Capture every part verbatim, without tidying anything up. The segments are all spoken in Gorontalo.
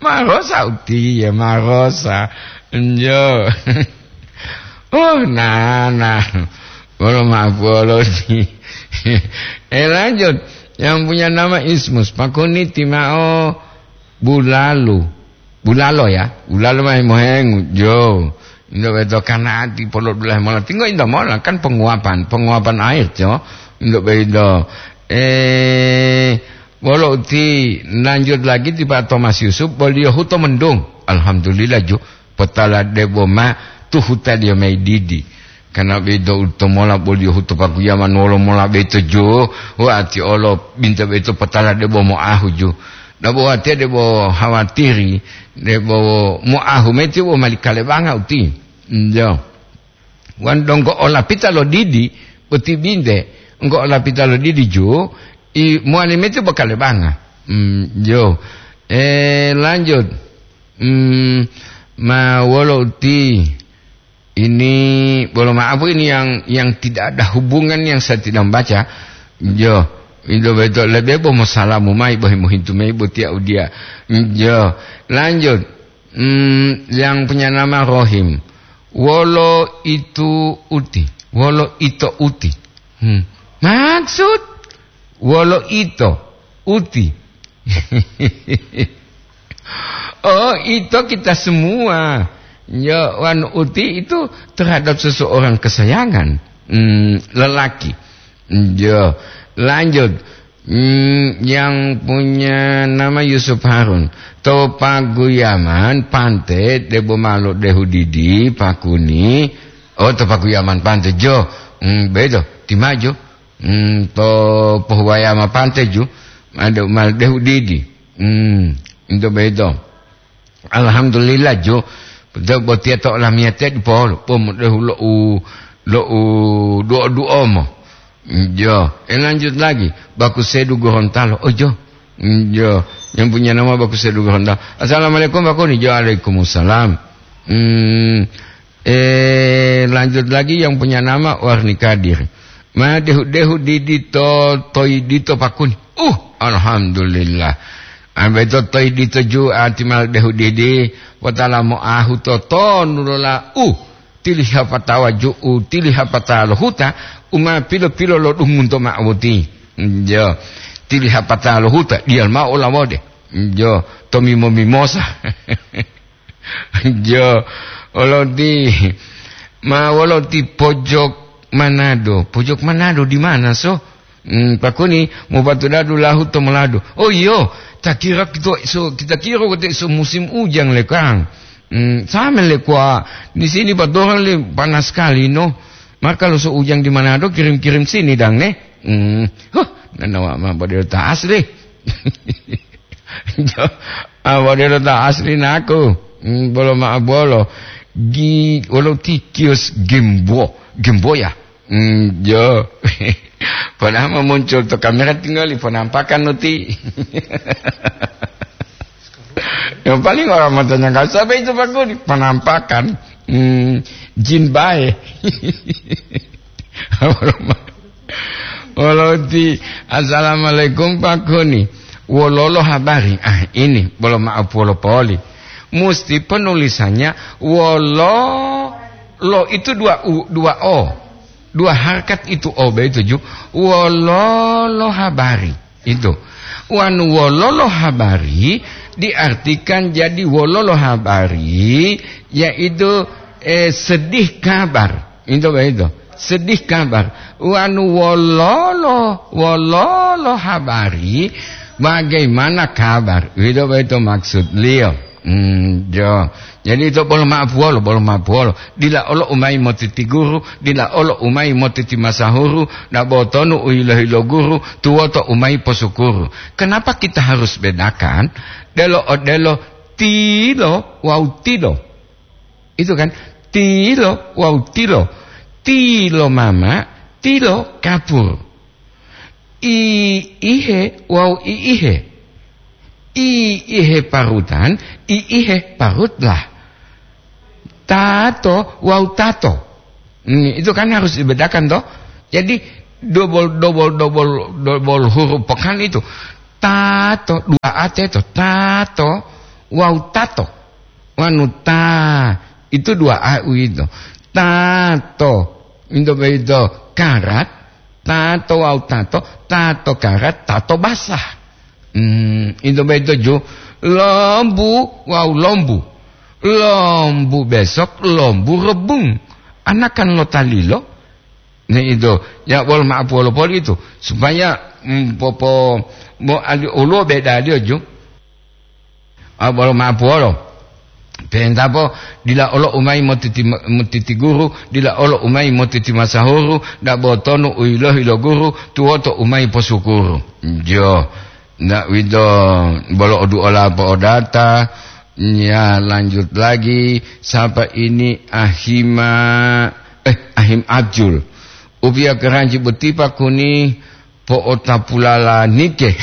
Marosa utiye, marosa. Njo. Oh, nana. Bolo ma'apuwolo ti. Eh, lanjut. Yang punya nama Ismus, pakuniti ma'o bulalu. Bulalo ya, bulalo ma himohengu, jo. Indo beto kanati polo dulahe mola. Tinggo indo mola, kan penguapan, penguapan air, jo. Indo beto. Eh, wolo uti lanjut lagi ti Pak Thomas Yusuf, boliyo huto mendung. Alhamdulillah, jo. Potala debo ma tuhuta dia mai didi. Kana beto uto mola boliyo huto pakuyaman wolo mola beto, jo. Wati olo binta beto potala debo moahu, jo. Dabo watiya debo hawatiri, debo moahu meti bo mali kalebanga uti. Njo. Wan donggo olapita lo didi, uti binte, enggo olapita lo didi ju, i muani meti bo kalebanga. Mm, jo. Eh, lanjut. Mm, ma wolo uti. Ini, bolo maaf, ini yang, yang tidak ada hubungan yang saya tidak membaca. Jo, itu betul. Lebih boh mau salamu mai, boh mohintu mai, boh tiak udia. Jo, lanjut. Hmm, yang punya nama Rohim. Wolo itu uti. Wolo ito uti. Hmm. Maksud? Wolo ito uti. Oh, itu kita semua. Ya, wan uti itu terhadap seseorang kesayangan. Hmm, lelaki. Ya, lanjut. Hmm, yang punya nama Yusuf Harun. To paguyaman pante debo malo dehu didi pakuni. Oh, to paguyaman pante jo. Hmm, bedo, timajo. Hmm, to pohuwayama pante ju. Ado mal dehu didi. Hmm, into bedo. Alhamdulillah, jo. Betul, botiya to olamiyatiya dipolo. Pom dehu lo u, lo u duo-duo mo. Jo, eh, lanjut lagi. Baku Sedu Gorontalo. Oh, jo. Jo, yang punya nama Baku Sedu Gorontalo. Assalamualaikum, Baku ni. Jo, waalaikumsalam. Hmm, eh, lanjut lagi yang punya nama Warni Kadir. Ma dehu-dehu didi to, toyi dito pakuni. Uh, alhamdulillah. Ambe to toyi dito ju ati mal dehu didi, potala moahu to tonu lola. Uh, tiliha patawa ju'u, tiliha pata lo huta, uma pilo-pilo lo dungunto ma'o boti. Jo, tiliha pata lo huta, dial ma'o olawode. Jo, to mimo-mimosa. Jo, oloti, ma woloti pojok Manado. Pojok Manado di mana, so? Hmm, pakuni, mopatudadu lahu to moladu. Oh, iyo, ta kira kito so, kita kira kote so musim ujang le, Kang. Hmm, sama le kwa, di sini patoran le panas sekali, no. Maka lo so ujang di Manado, kirim-kirim sini, dang, ne. Hmm, huh, nanawa ma bodelo ta asli. Jo, ah, bodelo ta asli naku. Hmm, bolo ma bolo. Gi, wolo ti kios Gembo, Gembo ya. Hmm, jo. Padahal mau muncul to kamera tinggal di penampakan nuti. Yang paling orang matanya nggak sampai itu Pak Guni, penampakan. Hmm, jin bae. Wolo ti, "Assalamualaikum Pak Guni. Wololo habari?" Ah, ini, bolo maaf wolo poli. Musti penulisannya wolo, lo itu dua u, dua o. Dua harkat itu o begitu ju. Wololo habari. Itu. Wanu wololo habari diartikan jadi wololo habari, yaitu, eh, sedih kabar. Itu begitu. Sedih kabar. Wanu wololo, wololo habari, bagaimana kabar? Itu begitu maksud liyo. Hmm, jo. Jadi ito bolo ma'apuwolo, bolo ma'apuwolo. Dila olo umayi motiti guru, dila olo umayi motiti masahuru, na botonu u hilo-hilo guru, tuwoto umayi posukuru. Kenapa kita harus bedakan? Delo odelo tilo wawu tilo. Itu kan, tilo wawu tilo. Tilo mama, tilo kapur. I ihe wawu i ihe. I ihe parutan, i ihe parutlah. Tato wawu tato. Hmm, itu kan harus dibedakan, toh. Jadi, double, double, double, double huruf pekan itu. Tato, dua A teto, tato wawu tato. Wanu ta, itu dua A uwito. Tato, into boyito karat, tato wawu tato, tato karat, tato basah. Hmm, into boyito ju, lombu wawu lombu. Lombu besok, lombu rebung. Anakan lo talilo, Ne ito, ya wolo ma'apuwolo poli ito, supaya, mm, popo-, mo ali oluwo bedaliyo ju. A, wolo ma'apuwolo. Pentapo dila olo umayi motiti-, motiti guru, dila olo umayi motiti masahuru, dabo tonu u yilohi lo guru, tuwoto umayi posukuru. Jo. Ndak wito bolo oduola po'odata, ya lanjut lagi, sapa ini Ahima, eh, Ahim Abjul. Upiya keranji boti pakuni po'otapulala nike.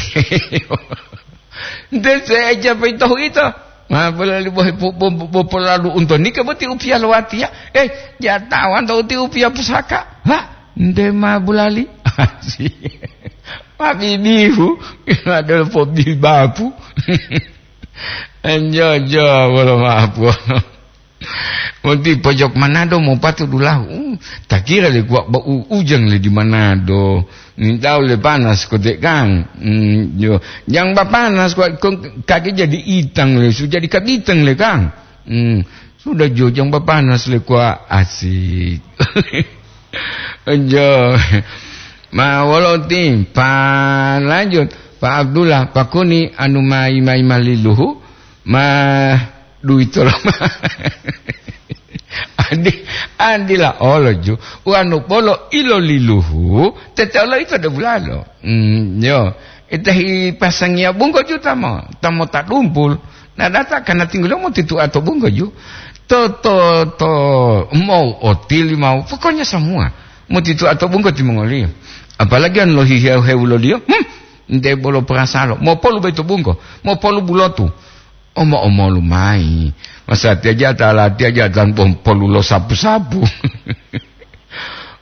Nte seeja peitohu ito. Ma bolali bohe po-, po-, po-, popolalu unto nike boti upiya lowatiya. Eh, jatawan to uti upiya pusaka. Ha, nte ma bulali. Pabibihu, adol pobibapu. Enjojo, wolo mapu. Monti pojok Manado mopatu dulahu. Uh, takira le kuwa ba u-, ujang le di Manado. Nintau le panas kote kang. Hmm, jo. Jang ba panas kuwa kong kage jadi itang le, su jadi kabitang le kang. Hmm, sudah jo jang ba panas le kuwa asik. Jo. Ma wolo ti, pa lanjut, Pa Abdullah, pakuni anu mayi-mayi maliluhu, ma duito loma. Adi, adila olo ju, wanu bolo iloliluhu, tete olo ito de bulalo. Mm, yo, ita hi pasangiya bunggo ju tamo, tamo ta dumpul. Na data kana tinggulo mo titu ato bunggo ju. To, to, to, mau otili mau, pokoknya semua. Mo titu ato bunggo timongoliyo. Apalagi an lohihewu-hewuloliyo, hmm, nte bolo perasalo. Mo polu beto bunggo, mo polu bulotu. Omo-omolu mayi. Masatiya ja ta latiya ja tan pom-, polu lo sapu-sapu.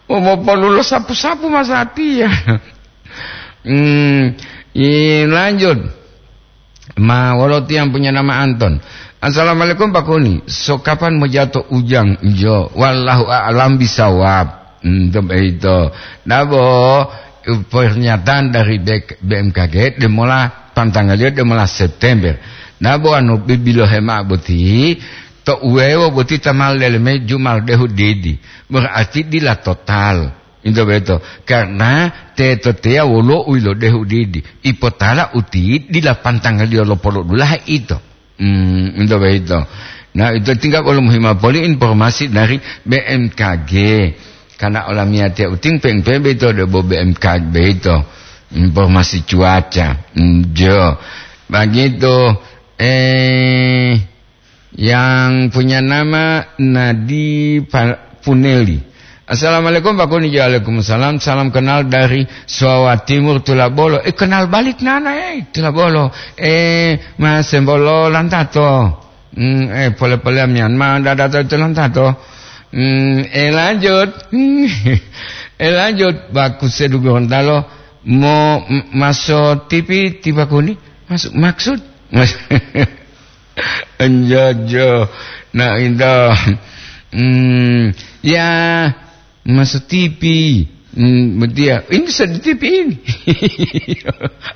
Omo polu lo sapu-sapu masatiya. Hmm, i lanjut. Ma wolo tiyang punya nama Anton. Assalamualaikum Pak Kuni. So kapan mo jato ujang? Jo, wallahu a'lam bisawab. Hmm, to beito. Dabo, pernyataan dari B-, B M K G, demola pantangaliyo demola September. Nah, bo anu bibilohe ma'o boti, to uwewo boti tamal leleme jumal dehu didi. Berarti dila total. Into beto. Karena teto teya wolo u ilodehu didi. Ipotala uti dila pantangaliyo lo polodulahe ito. Hmm, into beito. Nah, itu tinggal kalau muhima poli informasi dari B M K G. Karena olamiyatiya uting peng-peng beito debo B M K G beito. Informasi cuaca. Hmm, jo. Begitu. Eh, yang punya nama Nadi Pa-, Puneli. Assalamualaikum Pak Kuni. Waalaikumsalam. Salam kenal dari Suawa Timur, Tulabolo. Eh, kenal balik nana, eh, Tulabolo. Eh, Mas Sembolo Lantato. Hmm, eh, pole-pole Myanmar, dada to itu Lantato. Hmm, eh, lanjut. Hmm, eh, lanjut. Bagus, saya dulu Gorontalo. Mau m-, masuk T V, tiba Kuni. Masuk, maksud? Enjojo. Nah, itu. Hmm, ya, masuk T V. Hmm, betul ya. Ini sudah di T V ini.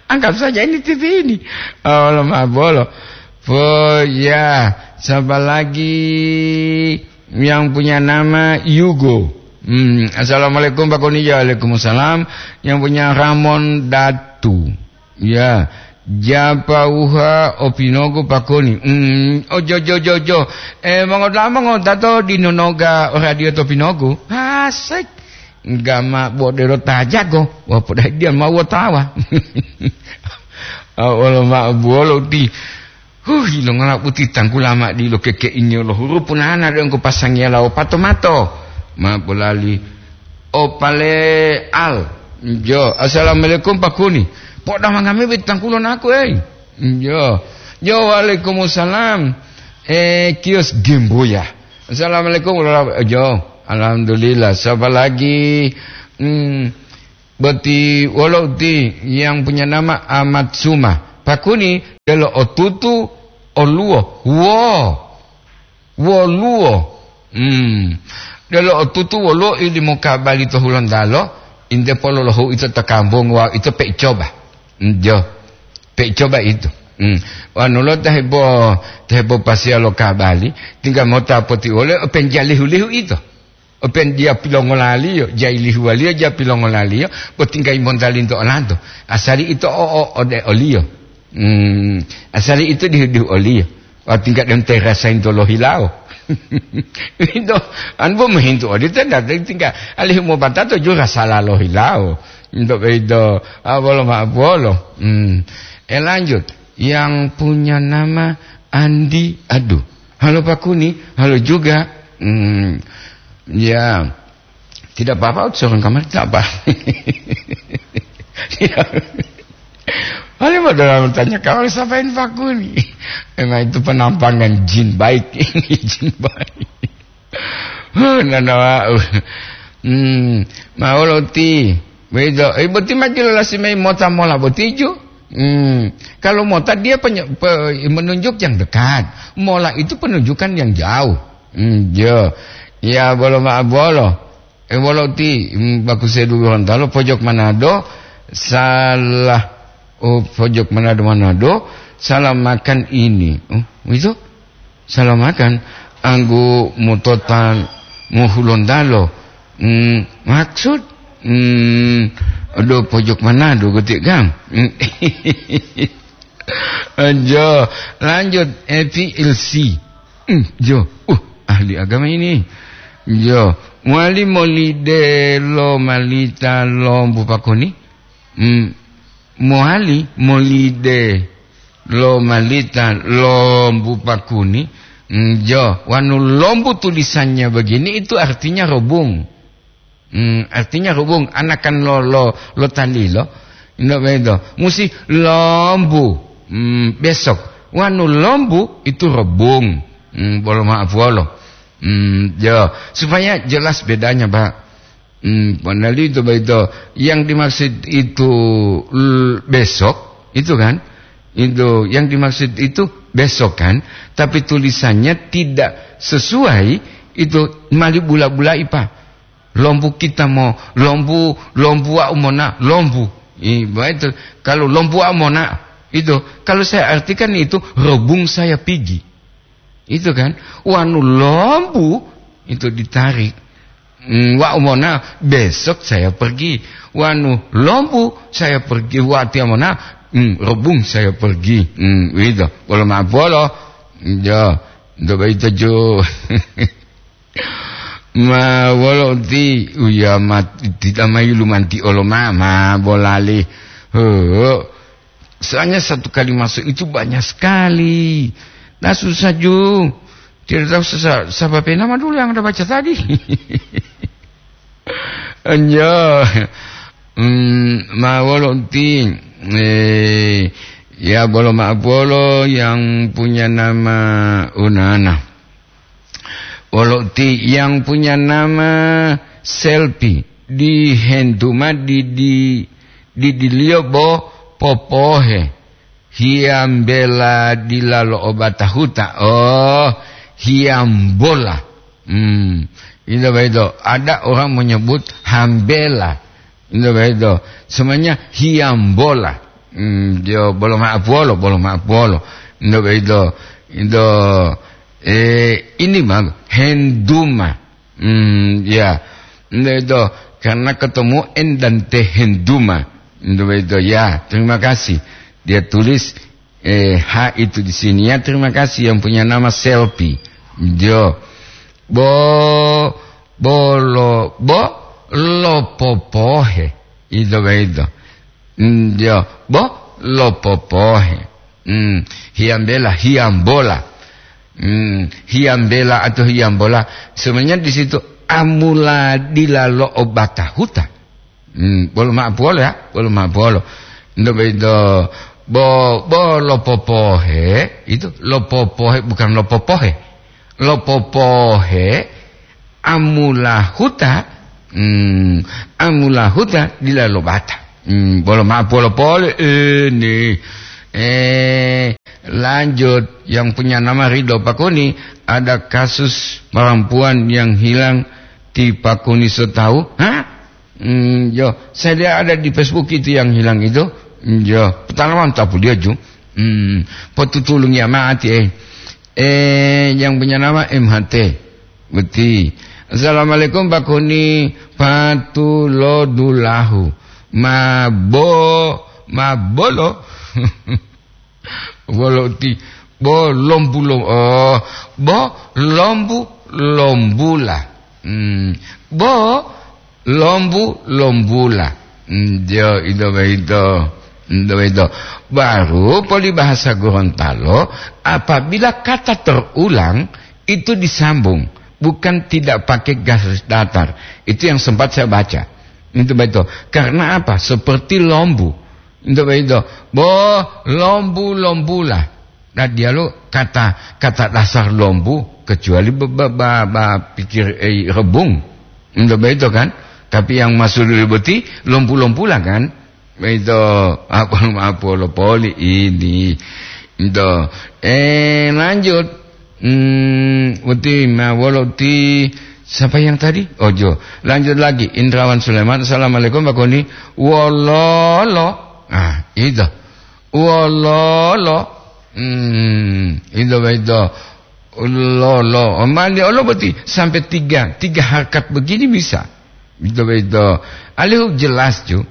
Anggap saja ini T V ini. Oh, lemah bolo. Oh, ya. Siapa lagi yang punya nama Yugo? Hmm, assalamualaikum Pak Koni. Waalaikumsalam. Yang punya Ramon Datu. Ya, japauha opinogu pakoni. Mm, ojo, jo, jo, jo. Eh, mongodula'a mongotato dinonoga o radio to pinogu. Asik. Gama bodero tajago. Wah, podai dia mau tawa. Awolo ma buwolo uti. Huh, ilongola boti tanggula ma dilo keke'ingiyo lo hurupu nana de engko pasangiya lawo pato-mato. Ma bolali opale al. Jo, assalamualaikum Pak Kuni. Poda mangame be tangkulo naku, ei. Jo. Jo, waalaikumsalam. Eh, kios Gemboya. Assalamualaikum, wala-, jo. Alhamdulillah. Siapa lagi? Hmm. Boti wolo uti yang punya nama Amat Suma. Pakuni delo otutu oluwo. Wo. Woluwo. Hmm. Delo otutu woluwo ili mokabali to Hulontalo, inte pololohu ito to kampung wawu ito pe coba. Hmm, jo. Pe coba itu. Hmm. Wanu lo ta hebo, ta hebo pasia lo kabali, tinggal mota poti wole, open jalihu-lihu ito. Open dia pilongolaliyo, jailihuwaliyo, ja pilongolaliyo, bo tinggai montalinto olanto. Asali ito o, o, ode oliyo. Hmm, asali ito dihu-dihu oliyo. Wa tingga dem terasa into lohilawo. Ito, an bo mohintu odito, nda tingga alihu mobatato jura sala lohilawo. Into beito, ah, bolo ma bolo. Hmm. E lanjut, yang punya nama Andi, aduh. Halo Pak Kuni, halo juga. Hmm. Ya. Tidak apa-apa, seorang kamar tidak apa. Ya. Paling modal tanya, "Kamu siapa ini, Pak Kuni?" Memang itu penampangan jin baik. Ini jin baik. Huh, nana wau. Hmm, mau loti. Begitu. Eh, boti maju lolasi mai mota mola boti ju. Hmm, kalau mota dia penye-, pe-, menunjuk yang dekat. Mola itu penunjukan yang jauh. Hmm, jo. Ya, bolo ma bolo. Eh, wolo ti, mm, bagus saya dulu Gorontalo, pojok Manado, salah, oh, pojok Manado, Manado, salah makan ini. Oh, itu? Salah makan. Anggu mutotan muhulontalo. Mm, maksud? Mm, aduh, pojok Manado, gotik, Kang. Mm. Jo, lanjut, F L C. Hmm, jo, uh, ahli agama ini. Jo, mowali molide lo malita lombu pakuni. Hmm, mowali molide lo malita lombu pakuni. Hmm, jo, wanu lombu tulisannya begini, itu artinya robung. Hmm, artinya robung, anakan lo, lo, lo talilo. Ino bedo. Musi lombu. Hmm, besok. Wanu lombu itu robung. Hmm, bolo maaf wolo. Hmm, jo. Supaya jelas bedanya, Pak. Hmm, panali itu begitu. Yang dimaksud itu l-, besok, itu kan? Itu yang dimaksud itu besok kan? Tapi tulisannya tidak sesuai, itu mali bula-bulai, Pak. Lombu kita mo, lombu, lombu wau mona, lombu. I, begitu. Kalau lombu wau mona, itu, kalau saya artikan itu, robung saya pigi. Itu kan, wanu lombu, itu ditarik. Hmm, wau mona, besok saya pergi. Wanu lombu, saya pergi. Wati mona, hmm, robung saya pergi. Hmm, itu. Bolo ma bolo. Jo, do begitu jo. Ma wolo ti, uya mat-, tidak mayu lumanti olo ma, ma bolali. He. Soalnya satu kali masuk itu banyak sekali. Nah, susah ju. Tidak tahu sesa-, siapa nama dulu yang Anda baca tadi. Enjo. Hmm, ma wolo ti, eh, ya bolo ma bolo yang punya nama Unana. Wolo ti yang punya nama Selpi, di Henduma di, di, di diliyo bo popohe, hiyambela dilalo obata huta. Oh, hiyambola. Hmm, itu begitu. Ada orang menyebut hambela. Ndo begitu. Semuanya hiyambola. Hmm, dia bolo maaf wolo, bolo maaf wolo. Ndo begitu. Ndo, eh, ini mah Henduma. Hmm, ya. Ndo itu. Karena ketemu N dan T, Henduma. Ndo begitu. Ya, terima kasih. Dia tulis eh, ha itu di sini. Ya, terima kasih yang punya nama Selfie. Jo. Bo, bolo, bo, lo popohe. Itu begitu. Mm, jo. Bo, lo popohe. Mm, hiyambela, hiyambola. Mm, hiyambela atau hiyambola. Sebenarnya di situ amula dilalo obata huta. Hmm, bolo maaf wolo ya, bolo maaf wolo. Ndo bedo bo, bo lo popohe, itu lo popohe, bukan lo popohe. Lo popohe, amula huta, Hmm, amulahuta dila lobata. Hmm, bolo ma'o polo pole ini. Eh, lanjut, yang punya nama Ridho Pakuni, ada kasus perempuan yang hilang di Pakuni Sotau. Hah? Hmm, yo, saya lihat ada di Facebook itu yang hilang itu. Hmm, yo, pertama mantap dia ju. Hmm, potutulung ya mati eh. Eh, yang punya nama M H T. Beti. Assalamualaikum Pak Kuni, patulodulahu. Mabo, mabolo. Wolo ti, bo lombu lom-, oh, bo lombu lombula. Hmm. Bo lombu lombula. Hmm, yo, itu begitu. Hmm, itu begitu. Baru poli bahasa Gorontalo, apabila kata terulang, itu disambung, bukan tidak pakai garis datar. Itu yang sempat saya baca. Itu begitu. Karena apa? Seperti lombu. Itu begitu. Bo lombu lombula. Nah, dia lo kata, kata dasar lombu, kecuali ba, ba, ba, ba pikir, eh, rebung. Itu begitu kan? Tapi yang masuk di boti, lombu-lombula kan? Begitu. Apa, apa lo poli ini? Itu. Eh, lanjut. Hmm, uti ma wolo ti siapa yang tadi? Ojo. Lanjut lagi, Indrawan Sulaiman. Assalamualaikum Pak Koni. Wololo. Ah, itu. Wololo. Hmm, itu begitu. Lolo. Mandi olo boti sampai tiga, tiga harkat begini bisa. Itu begitu. Alihu jelas ju.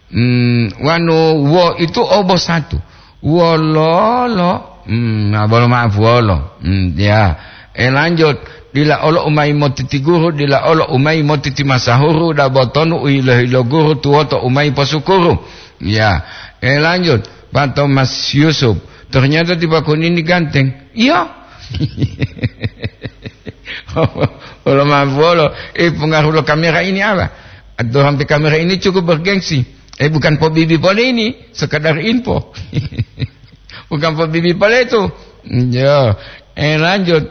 Hmm, wanu wo itu obo satu. Wololo. Hmm, nah, bolo maaf wolo. Hmm, ya. Eh, lanjut. Dila olo umai motiti guru, dila olo umai motiti masahuru, da botonu u hilo-hilo guru tuwoto umai posukuru. Ya. Eh, lanjut. Pak Thomas Yusuf. Ternyata tiba kunini ganteng. Iya. Wolo maaf wolo. Eh, pengaruh lo kamera ini apa? Atau sampai kamera ini cukup bergengsi. Eh, bukan po bibi pole ini, sekadar info. Bukan po bibi pole itu. Ya, eh, lanjut.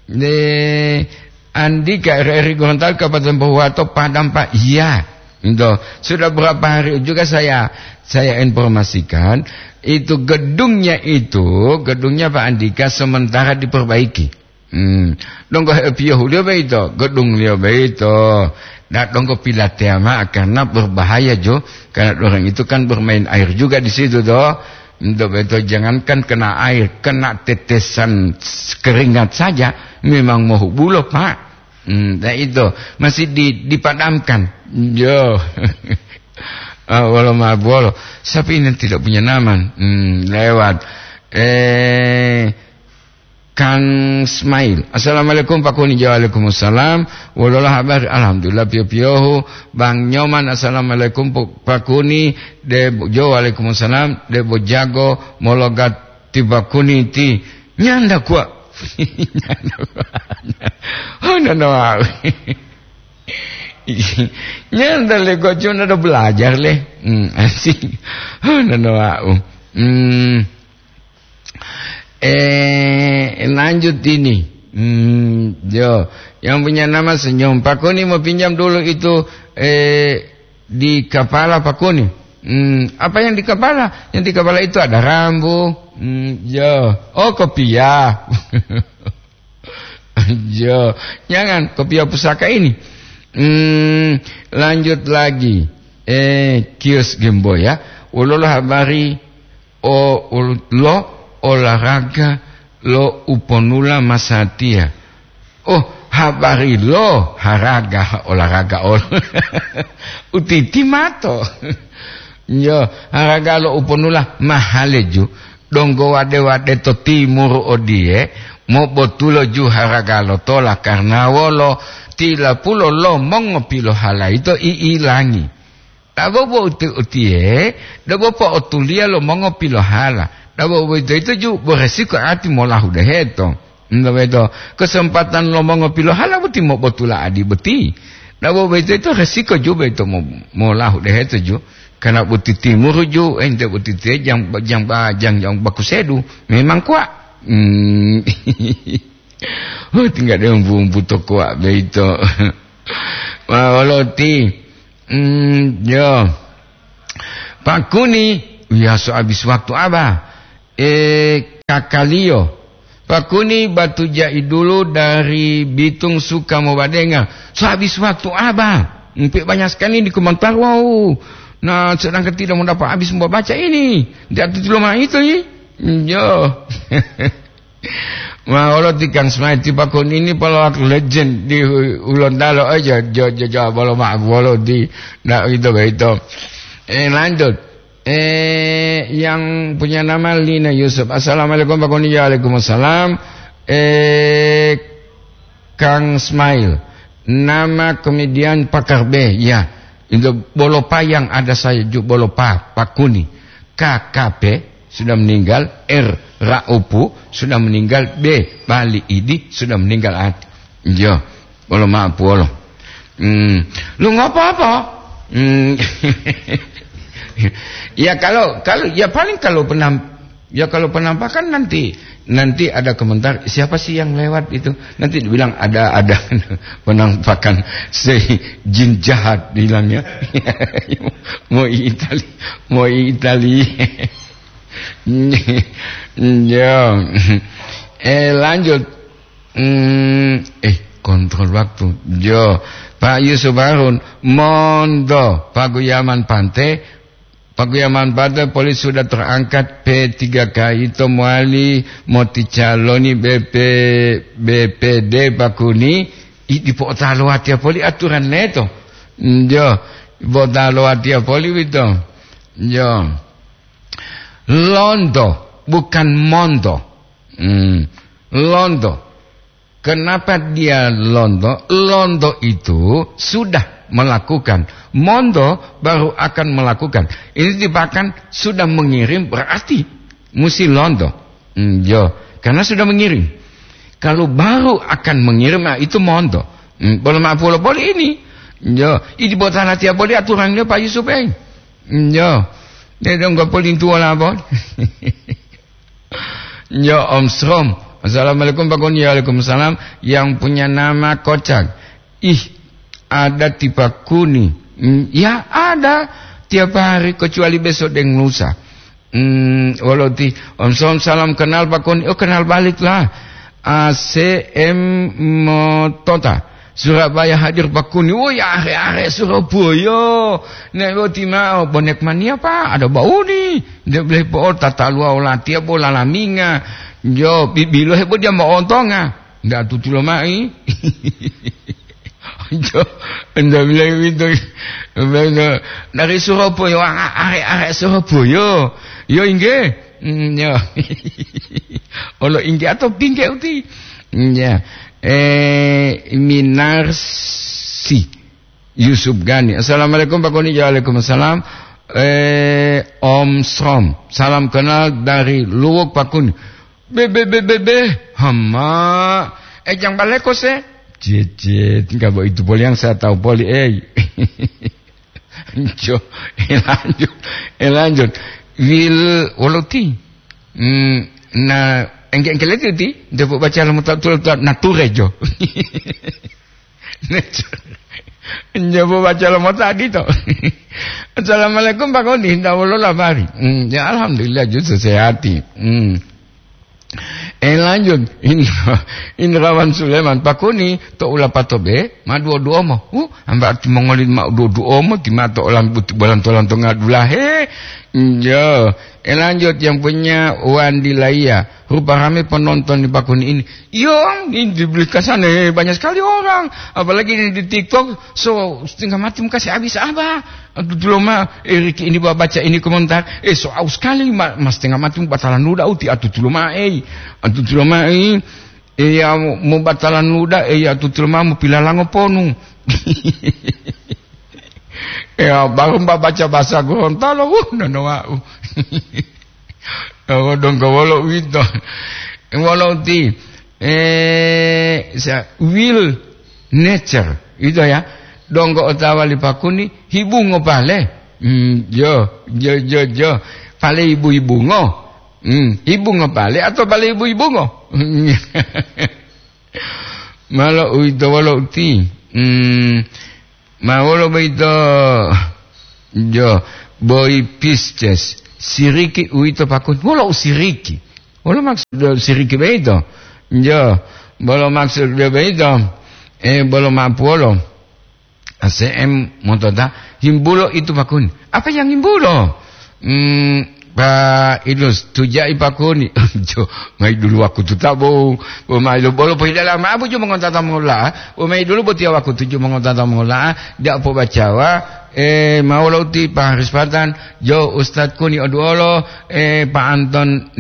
Eh, Andika, R R I Gorontalo, Kabupaten Pohuwato, Padang, Pak. Iya. Itu. Sudah berapa hari juga saya, saya informasikan, itu gedungnya itu, gedungnya Pak Andika sementara diperbaiki. Hmm. Donggo hepiyohuliyo boyito, gedungliyo boyito. Ndak donggo pilateya mao karena berbahaya, jo. Karena orang itu kan bermain air juga di situ, toh. Untuk boyito jangankan kena air, kena tetesan s-, keringat saja memang mohubulo, Pak. Hmm, nah itu masih di-, dipadamkan. Yo. Ah, wolo mabolo. Siapa ini yang tidak punya nama? Hmm, lewat. Eh, Kang Smail. "Assalamualaikum, Pak Kuni." Jo, waalaikumsalam. "Wolola habari?" "Alhamdulillah, piyo-piyohu." Bang Nyoman, "Assalamualaikum, Pu-, Pak Kuni." De-, jo, "Waalaikumsalam." "Debo jago mologat ti Pak Kuni ti nyanda kuwa." Nyanda kuwa. Oh, nono wau. Nyanda le, kok cuma ada belajar le. Hmm, asik. Oh, nono wau. Hmm. Eh, lanjut ini. Hmm, yo, yang punya nama Senyum. Pak Kuni mau pinjam dulu itu, eh, di kepala Pak Kuni. Hmm, apa yang di kepala? Yang di kepala itu ada rambu. Hmm, yo. Oh, kopiah. Yo, jangan kopiah pusaka ini. Hmm, lanjut lagi. Eh, kios Gemboy ya. Wolola habari o, ol-, lo olahraga lo uponula masatiya. Oh, habari lo haraga olahraga ol-, utiti mato. Yo, haraga lo uponula mahaleju, donggo wade-wade to timuru odiye, mobotulo ju haraga lo tola karna wolo, tilapulo lo mongopilohalayi to i'ilangi. Dabo bo uti-, utiye, dabo po'otuliya lo mongopilohala. Dabo boyito ju boresiko ati molahu deheto. Nto boyito, kesempatan lo mongopilohala boti mobotula adi boti. Dabo boyito resiko ju boyito mo-, molahu deheto ju. Karena boti timuru ju, ente boti te jang, jang ba-, jang, jang bakusedu. Memang kuwa. Hmm. Oh, tinggal dia umbu-umbu to kuwa boyito. Wa-, wolo ti. Mm, yo. Pakuni, ya, so habis waktu aba. Eh, kakaliyo. Pakuni batu jai dulu dari Bitung suka mau badenga. So habis waktu aba. Mpe banyak sekali di komentar, wow. Nah, sedangkan tidak mau dapat habis mau baca ini. Tidak tutup lemah itu, ya. Yo. Ma, wolo ti Kang Smai, ti Pakun ini pelawak legend di Hu-, Hulontalo aja, jo, jo, jo, bolo ma-, bolo di, ndak gitu, gitu. Eh, lanjut. Eh, yang punya nama Lina Yusuf. "Assalamualaikum, Pakun." Ya, waalaikumsalam. Eh, Kang Smail. Nama kemudian Pakar B, ya. Itu bolopa yang ada saya ju-, bolopa, Pakuni. K K P sudah meninggal, R Raupu sudah meninggal, B Bali Idi sudah meninggal. At-, iya, bolo maaf, wolo. Hmm, lu nggak apa-apa. Hmm. Ya, kalau, kalau, ya, paling kalau penam-, ya, kalau penampakan nanti, nanti ada komentar, "Siapa sih yang lewat itu?" Nanti dibilang, "Ada, ada penampakan si jin jahat," bilangnya. Mau Itali, mau Itali. Ya. Eh, lanjut. Hmm, eh, kontrol waktu. Yo, Pak Yusuf Harun, mondo, Pak Guyaman Pante, Pak Guyaman Pante, polis sudah terangkat P tiga K itu mowali moticaloni B P, B P D Pakuni, i, dipo'otalo watiya poli aturan leto. Yo, dipo'otalo watiya poli wito. Yo. Londo, bukan mondo. Hmm. Londo. Kenapa dia londo? Londo itu sudah melakukan. Mondo baru akan melakukan. Ini dipakan sudah mengirim, berarti musti londo. Hmm, yo, karena sudah mengirim. Kalau baru akan mengirim, nah, itu mondo. Hmm, bolo maaf, wolo poli ini. Yo, idi botana tiap poli aturannya Pak Yusuf, eh. Hmm, yo. Dia dong gak poli tua lah, Bon. Yo, Om Srom. "Assalamualaikum, Pak Goni." Waalaikumsalam. Yang punya nama Kocak. Ih, ada ti Pakuni. Hmm, ya, ada tiap hari kecuali besok deng lusa. Hmm, wolo ti, "Om Srom, salam kenal, Pakuni." Oh, kenal balik lah. A C M Motota. "Surabaya hadir, Pakuni." Oh, ya, are-are Surabaya. Nek boti mao, bonek mania, Pak, ada bauni. Dia boleh po tata luau latiya bola laminga. Yo, bibilo hebo dia mau ontonga. Ndak tutulo mai. Jo, ndak bilang gitu. Bilang, "Dari Surabaya, are-are Surabaya." Yo, inggih. Hmm, yo. Olo inggih atau pinggih uti. Hmm, ya. Eh, Minarsi. Yusuf Gani. "Assalamualaikum, Pak Koni." Waalaikumsalam. Eh, Om Srom. "Salam kenal dari Luwuk, Pak Koni." Be, be, be, be, be. Hama. Eh, jang baleko se. Cie, cie. Tinggal bo itu poli yang saya tahu poli, eh. Jo, eh, lanjut. Eh, lanjut. Wil, wolo ti. Hmm, na, engke-engke leti ti. Dia baca lama tak tulah, tulah, nature jo. Nyobo baca lo mota adito. "Assalamualaikum, Pak Koni, ndak wolo labari?" Hmm, ya, alhamdulillah, justru sehati. Hmm. Eh, lanjut. Indra-, Indrawan Sulaiman, "Pak Koni, to ulapato be, ma duo-duo mo." Uh, amba arti mongoli ma duo-duo mo, ti ma to olam-, buti bolan tolan to ngadulahe. Hmm, ya. Eh, lanjut, yang punya Wandi Laiya. "Rupa rame penonton di Pakuni ini." Yo, ini dibeli kasane banyak sekali orang. Apalagi ini di TikTok, so setengah mati muka saya habis apa? Aduh, dulu mah, eh, Riki ini baca ini komentar. Eh, so aus sekali, ma-, mas setengah mati batalan udah uti, aduh, dulu mah, eh. Aduh, dulu mah, eh. Eh, ya, mau batalan udah, eh, ya, aduh, dulu mah, mau pilalango ponu. Ya, baru mbak baca bahasa Gorontalo, wuh, nono wau. Oh, donggo wolo uwito. Wolo uti, eh, sa-, will nature, gitu ya. Donggo otawa li Pakuni, hibungo pale. Hmm, jo, jo, jo, jo. Pale ibu-ibungo. Hmm, hibungo pale atau pale ibu-ibungo? Malo uwito wolo uti. Hmm, Ma wolo boyito? Jo, boy Pisces. Siriki uwito pakuni. Wolo u siriki? Wolo maksud siriki boyito? Jo, bolo maksud boyito? Eh, bolo mapuolo. A C M motota, himbulo itu pakuni. Apa yang himbulo? Hmm, Pak Idrus, tujai pakuni. Jo, mai dulu wakutu tabo. Bo mai lo bolo pohidala ma abu jo mongotata mola. Bo mai dulu botia wakutu jo mongotata mola. Dia po bacawa. Eh, mau lo ti Pak Haris Patan. Jo, Ustadz Kuni Oduolo. Eh, Pak Anton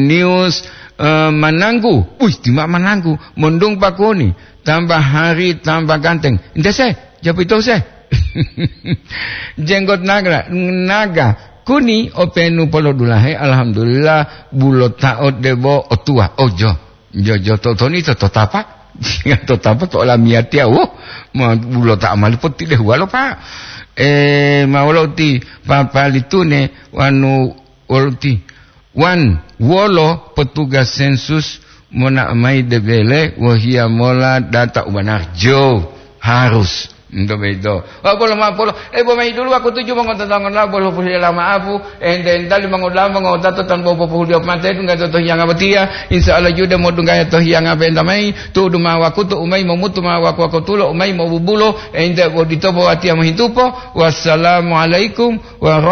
News. Eh, Mananggu. Wih, tima Mananggu. Mondung pakuni. Tambah hari, tambah ganteng. Ente se, japu ito se. Jenggot naga, naga. Kuni openu polodulahe, alhamdulillah, bulo ta'o debo otua. Ojo. Jo, jo, to, to ni to, to tapa. To tapa to olamiyatiya, wo. Ma bulo ta'a mali poti dehuwalo, Pak. Eh, ma wolo uti papalitune wanu wolo uti. Wan, wolo petugas sensus monao mayi debele wohiya mola data u banari? Jo, harus. Ento boyito. Wa bolo ma'o polo, eh, bo mayi dulu wakutu ju mongototongola bolo pohila ma'apu, ente entali mongoda'a mongotato tan bo popohuliyo pate dungga to hiyanga botiya, insya Allah jude modunggaya to hiyanga benta mayi, tu'udu ma'o wakutu u mayi momutu ma'o waku-wakutulo u mayi mobubulo, ente bodito bo watiya mohitupo. Wassalamualaikum warahmatullahi